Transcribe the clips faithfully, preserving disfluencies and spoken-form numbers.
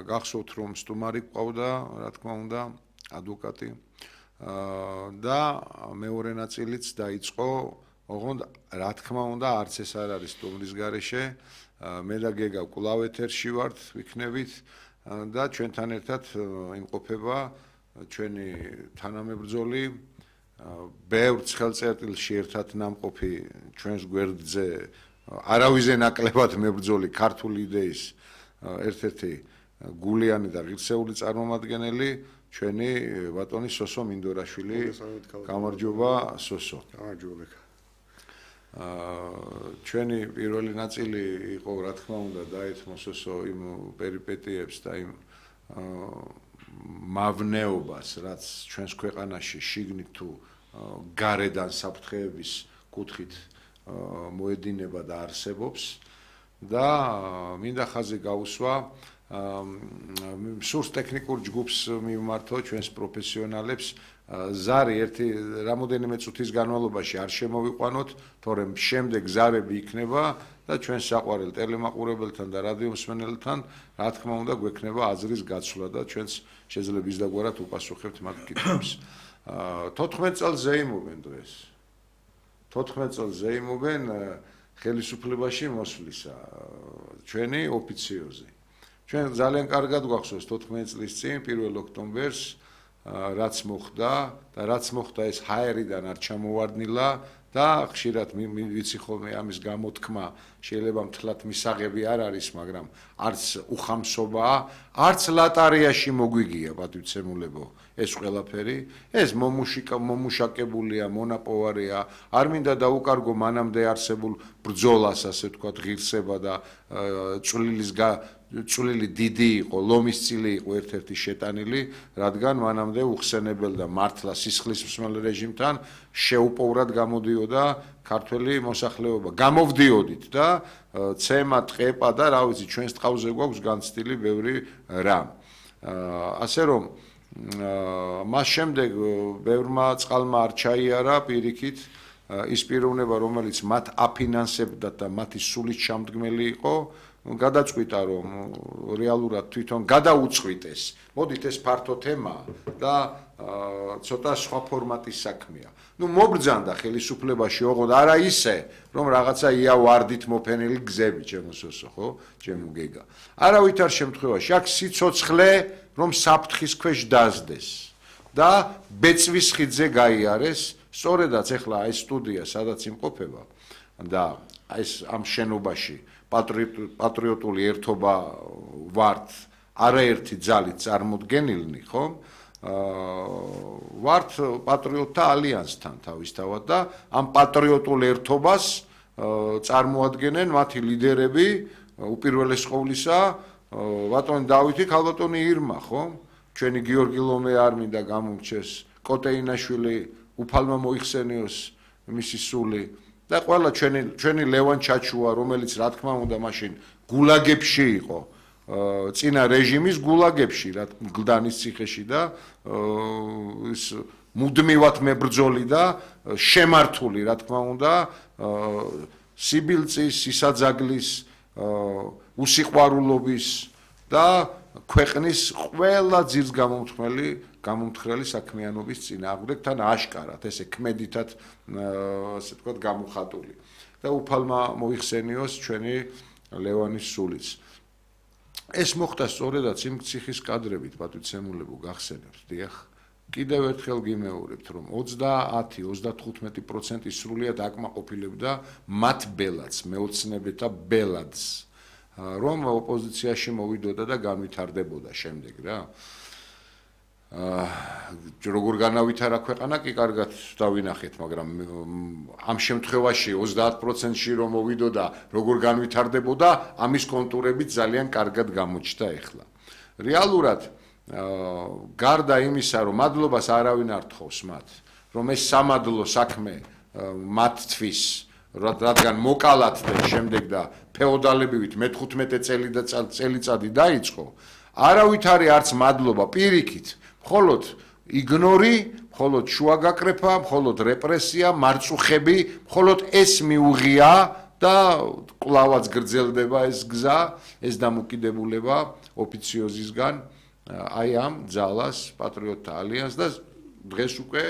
გახსოვთ რომ სტუმარი ყავდა, რა თქმა უნდა, ადვოკატი და მეორე ნაწილიც დაიწყო, ოღონდ რა თქმა უნდა, არც ეს არ არის სტუმრის გარეშე, მე და გეგა კვლავ ეთერში ვართ, ვიქნებით და ჩვენთან ერთად იმყოფება ჩვენი თანამებრძოლი, ბევრ ცხელწერტილში ერთად ნამყოფი ჩვენს გვერდზე არავიზე ნაკლებად მებრძოლი ქართული იდეის ერთ-ერთი გულიანი და ღირსეული წარმომადგენელი ჩვენი ბატონი სოსო მინდორაშვილი. გამარჯობა სოსო. გამარჯობა. ჩვენი პირველი ნაწილი იყო რა თქმა უნდა დაეთმო სოსო იმ პერიპეტიებს და იმ მავნეობას, რაც ჩვენს ქვეყანაში შიგნით თუ გარედან საფრთხეების კუთხით მოედინება და არსებობს და მინდა ხაზი გაუსვა სურს ტექნიკურ ჯგუფს მივმართო ჩვენს პროფესიონალებს ზარი ერთი რამოდენიმე წუთის განმავლობაში არ შემოვიყვანოთ, თორემ შემდეგ ზარები იქნება და ჩვენ საყვარელ ტელემაყურებელთან და რადიომსმენელთან რა თქმა უნდა გვექნება აზრის გაცვლა და ჩვენს შეძლებ ისდაგვარად უპასუხებთ მათ კითხვებს. თოთხმეტ წელს ზეიმობენ დღეს. თოთხმეტ წელს ზეიმობენ ხელისუფლებაში მოსვლისა ჩვენი ოფიციოზი. ჩვენ ძალიან კარგად გვახსოვს თოთხმეტ წლის წინ პირველ ოქტომბერს რაც მოხდა და რაც მოხდა ეს ჰაერიდან არ ჩამოვარდნილა და ხშირად ვიცი ხოლმე ამის გამოთქმა შეიძლება მთლად მისაღები არ არის, მაგრამ არც უხამსობაა, არც ლატარიაში მოგვიგია პატივცემულებო ეს ყველაფერი, ეს მომუშიკა მომუშაკებულია, მონაპოვარია, არ მინდა დაუკარგო მანამდე არსებულ ბრძოლას, ასე ვთქვათ, ღირსება და წვლილის წვლილი დიდი იყო, ლომისწილი იყო ერთ-ერთი შეტანილი, რადგან მანამდე უხსენებელ და მართლა სისხლისმსმელ რეჟიმთან შეუპოვრად გამოდიოდა ქართველი მოსახლეობა. გამოვდიოდით და ცემა, ტყეპა და რა ვიცი, ჩვენს ტყავზე გვაქვს განცდილი ბევრი რამ. ასე რომ მას შემდეგ ბევრმა წყალმა არ ჩაიარა პირიქით ის პიროვნება, რომელიც მათ აფინანსებდა და მათი სულის ჩამდგმელი იყო, გადაწყვიტა რომ რეალურად თვითონ გადაუწყვიტეს. მოდით ეს ფართო თემაა და ცოტა სხვა ფორმატის საქმეა. ნუ მობრძანდა ხელისუფლებაში ოღონდ არა ისე, რომ რაღაცა იავარდით მოფენილი გზები ჩემო სოსო, ხო? ჩემო გეგა. არავითარ შემთხვევაში აქ სიცოცხლე რომ საფრთხის ქვეშ დაზდეს და ბეწვის ხიდზე გაიარეს, სწორედაც ეხლა ეს სტუდია სადაც იმყოფება და ეს ამ შენობაში პატრიოტული ერთობა ვართ არაერთი ძალით წარმოდგენილნი, ხო? ვართ პატრიოტთა ალიანსთან თავისთავად და ამ პატრიოტულ ერთობას წარმოადგენენ მათი ლიდერები, უპირველეს ყოვლისა ბატონი დავითი, ქალბატონი ირმა, ხო? ჩვენი გიორგი ლომე არ მინდა გამომრჩეს, კოტეინაშვილი უფალმა მოიხსენიოს მისი სული და ყველა ჩვენი ჩვენი ლევან ჩაჩუა, რომელიც რა თქმა უნდა მაშინ გულაგებში იყო, წინა რეჟიმის გულაგებში, რა გლდანის ციხეში და ის მუდმივად მებრძოლი და შემართული, რა თქმა უნდა, სიბილწის, სისაძაგლის, უსიყვარულობის და ქვეყნის ყველა ძირს გამომთხრელი გამომთხრელი საქმიანობის წინააღმდეგ თან აშკარად ესე ქმედითად ასე ვთქვათ გამოხატული და უფალმა მოიხსენიოს ჩვენი ლევანის სულიც. ეს მოხდა სწორედაც იმ ციხის კადრებით პატივცემულებო გახსენებთ, დიახ. კიდევ ერთხელ გიმეორებთ, რომ ოცდაათი ოცდათხუთმეტი პროცენტი სრულიად აკმაყოფილებდა მათ ბელადს, მეოცნებეთა ბელადს, რომ ოპოზიციაში მოვიდოდა და განვითარდებოდა შემდეგ რა. როგორ განავითარა ქვეყანა კი კარგად დავინახეთ, მაგრამ ამ შემთხვევაში ოცდაათ პროცენტში რომ მოვიდოდა, როგორ განვითარდებოდა, ამის კონტურები ძალიან კარგად გამოჩნდა ახლა. რეალურად გარდა იმისა, რომ მადლობას არავინ არ თხოვს მათ, რომ ეს სამადლო საქმე მათთვის, რადგან მოკალათ და შემდეგ და ფეოდალებივით მეთხუთმეტე წელი და წელიწადი დაიწყო, არავითარი არც მადლობა პირიქით, მხოლოდ იგნორი, მხოლოდ შუაგაკრეფა, მხოლოდ რეპრესია, მარწუხები, მხოლოდ ეს მიუღია და კლავაც გრძელდება ეს გზა, ეს დამოკიდებულება ოფიციოზისგან აი ამ ძალას პატრიოტთა ალიანსს და დღეს უკვე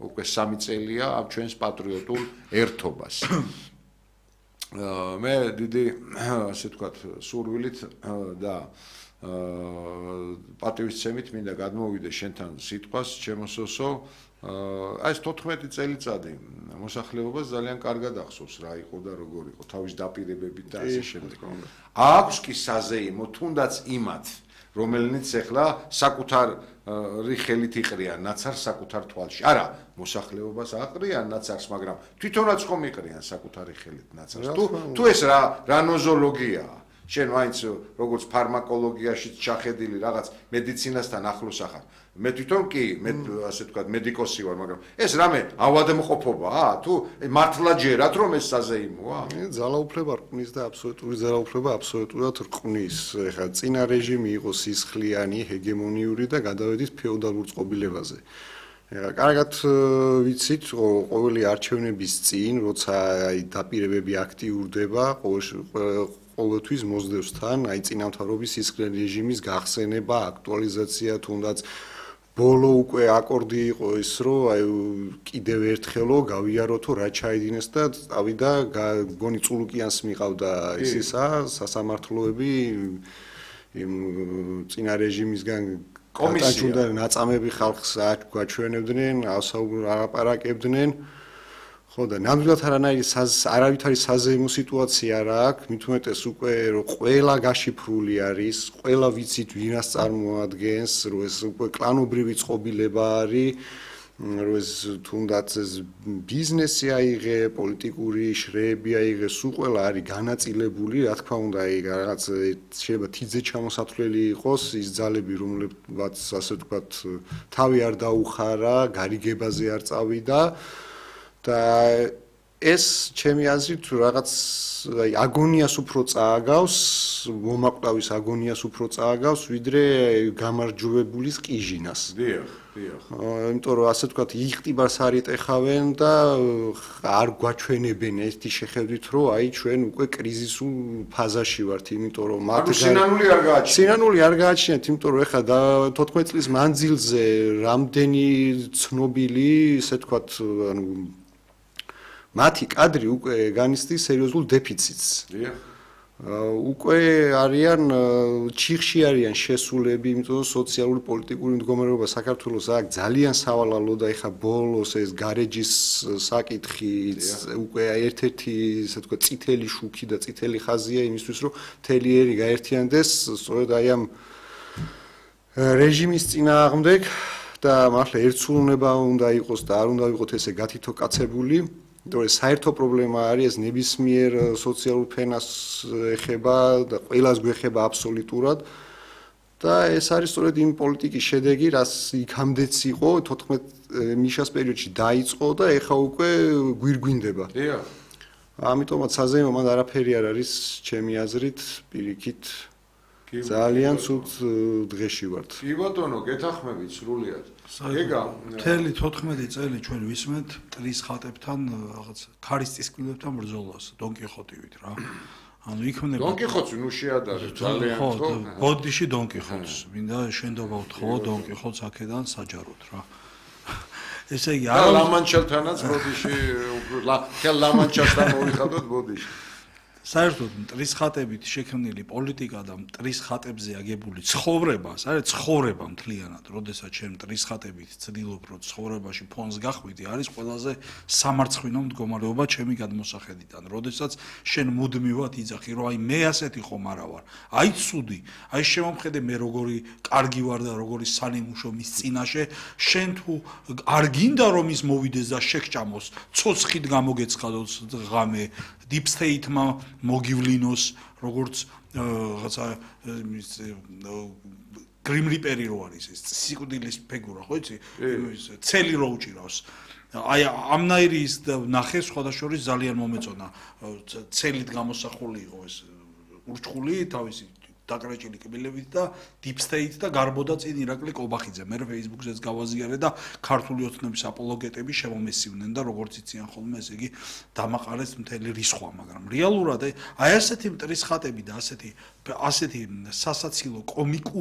უკვე სამი წელია ამ ჩვენს პატრიოტულ ერთობას. მე დიდი ასე ვთქვათ სურვილით და პატივისცემით მინდა გადმოვიდე შენთან სიტყვას ჩემო სოსო აი ეს თოთხმეტი წელიწადი მოსახლეობას ძალიან კარგად ახსოვს რა იყო და როგორ იყო თავის დაპირებებით და ასე შემდეგ. აქვს კი საზეიმო თუნდაც იმათ რომელნიც ახლა საკუთარი ხელით იყრიან ნაცარს საკუთარ თვალში. არა, მოსახლეობას აყრიან ნაცარს, მაგრამ თვითონაც ხომ იყრიან საკუთარი ხელით ნაცარს. თუ თუ ეს რა რა ნოზოლოგიაა. შენ მაინც როგორც ფარმაკოლოგიაშიც ჩახედილი რაღაც მედიცინასთან ახლოს ახარ. მე თვითონ კი მე ასე ვთქვათ მედიკოსი ვარ, მაგრამ ეს რამე ავადმყოფობაა? თუ მართლა ჯერათ რომ ეს საზეიმოა? ძალაუფლება რკმის და აბსოლუტური ძალაუფლება აბსოლუტურად რკმის. ეხლა წინა რეჟიმი იყო სისხლიანი, ჰეგემონიური და გადავედით ფეოდალურ წყობილებაზე. ეხლა კარგად ვიცით, ყოველი არჩევნების წინ, როცა აი დაპირებები აქტიურდება, ყოველთვის მოსდევს თან აი წინამთავრობის სისხლიან რეჟიმის გახსენება, აქტუალიზაცია, თუნდაც ბოლო უკვე აკორდი იყო ის, რომ აი კიდევ ერთხელო გავიაროთო რა ჩაიდინეს და წავიდა გონი წულუკიანს მიყავდა ისისა სასამართლოები იმ წინა რეჟიმისგან კომისია ნაწამები ხალხს აჩვენებდნენ, ალაპარაკებდნენ. ხო და ნამდვილად არანაირი არავითარი საზეიმო სიტუაცია რა აქვს, მით უმეტეს უკვე რომ ყველა გაშიფრული არის, ყველა ვიცით ვინას წარმოადგენს, რომ ეს უკვე კლანობრივი წყობილება არის, რომ ეს თუნდაც ეს ბიზნესი აიღე, პოლიტიკური შრეები აიღე, სულ ყველა არის განაწილებული, რა თქმა უნდა, აი რაღაც შეიძლება თიძე ჩამოსათვლელი იყოს ის ძალები, რომლებიც ასე ვთქვათ, თავი არ დაუხარა, გარიგებაზე არ წავიდა. და ეს ჩემი აზრით რაღაც აი აგონიას უფრო წააგავს, მომაკვდავის აგონიას უფრო წააგავს, ვიდრე გამარჯვებულის ყიჟინას. დიახ, დიახ. იმიტომ რომ ასე ვთქვათ, იღტიბას არ იტეხავენ და არ გვაჩვენებენ ერთი შეხედვით, რომ აი ჩვენ უკვე კრიზისულ ფაზაში ვართ, იმიტომ რომ მათ სინანული არ გააჩნიათ. სინანული არ გააჩნიათ, იმიტომ რომ ეხლა თოთხმეტ წლის მანძილზე რამდენი ცნობილი, ესე ვთქვათ, ანუ მათი კადრი უკვე განიცდის სერიოზულ დეფიციტს. დიახ. უკვე არიან ჩიხში არიან შესულები, იმიტომ რომ სოციალური პოლიტიკური მდგომარეობა საქართველოს აქ ძალიან სავალალო და ეხა ბოლოს ეს გარეჯის საკითხი უკვე ერთ-ერთი ესე ვთქვათ წითელი შუქი და წითელი ხაზია იმისთვის რომ თელიერი გაერთიანდეს სწორედ აი ამ რეჟიმის წინააღმდეგ და მართლა ერთსულუნება უნდა იყოს და არ უნდა იყოს ესე გათითო კაცებული. იმიტომ რომ საერთო პრობლემა არის ეს ნებისმიერ სოციალურ ფენას ეხება და ყველას გვეხება აბსოლუტურად და ეს არის სწორედ იმ პოლიტიკის შედეგი, რაც იქამდეც იყო თოთხმეტ მიშას პერიოდში დაიწყო და ეხა უკვე გვირგვინდება. დიახ. ამიტომაც საზეიმო მან არაფერი არ არის ჩემი აზრით პირიქით ძალიან ცუდ დღეში ვართ. კი ბატონო, გეთახმებით სრულიად. ეგა მთელი თოთხმეტი წელი ჩვენ ვისმენთ მტრის ხატებთან რაღაც ქარის წისკვილებთან ბრძოლას დონკიხოტივით რა. ანუ იქმნება დონკიხოტი ნუ შეადარე ძალიან ხო. ბოდიში დონკიხოტს, მინდა შენდობა ვთხოვო დონკიხოტს აქედან საჯაროდ რა. ესე იგი არა ლამანჩელთანაც ბოდიში ხელ ლამანჩასთან მოვიხადოთ ბოდიში. საერთოდ მტრის ხატებით შექმნილი პოლიტიკა და მტრის ხატებზე აგებული ცხოვრება, საერთოდ ცხოვრება მთლიანად, როდესაც შენ მტრის ხატებით ცდილობ რომ ცხოვრებაში ფონს გახვიდე, არის ყველაზე სამარცხვინო მდგომარეობა ჩემი გადმოსახედიდან. როდესაც შენ მუდმივად იძახი, რომ აი მე ასეთი ხომ არა ვარ. აი ცუდი, აი შემომხედე მე როგორი კარგი ვარ და როგორი სანიმუშო მის წინაშე, შენ თუ არ გინდა რომ ის მოვიდეს და შეგჭამოს, ცოცხლით გამოგეცხადოს ღამე deep state-მა მოგივლინოს როგორც რაღაცა Grim Reaper-ი რო არის ეს სიკვდილის ფიგურა ხო იცი ცელი რო უჭირავს აი ამნაირი ის ნახე სხვადასხვა ძალიან მომეწონა ცელით გამოსახული იყო ეს ურჩხული თავისი დაკრეჭილი კბილებით და deep state და გარბოდა წინ ირაკლი კობახიძე. მე Facebook-ზეც გავაზიარე და ქართული ოცნების აპოლოგეტები შემომესივნენ და როგორც იციან ხოლმე, ესე იგი დამაყარეს მთელი რისხვა, მაგრამ რეალურად აი ასეთი მტრის ხატები და ასეთი ასეთი სასაცილო კომიკური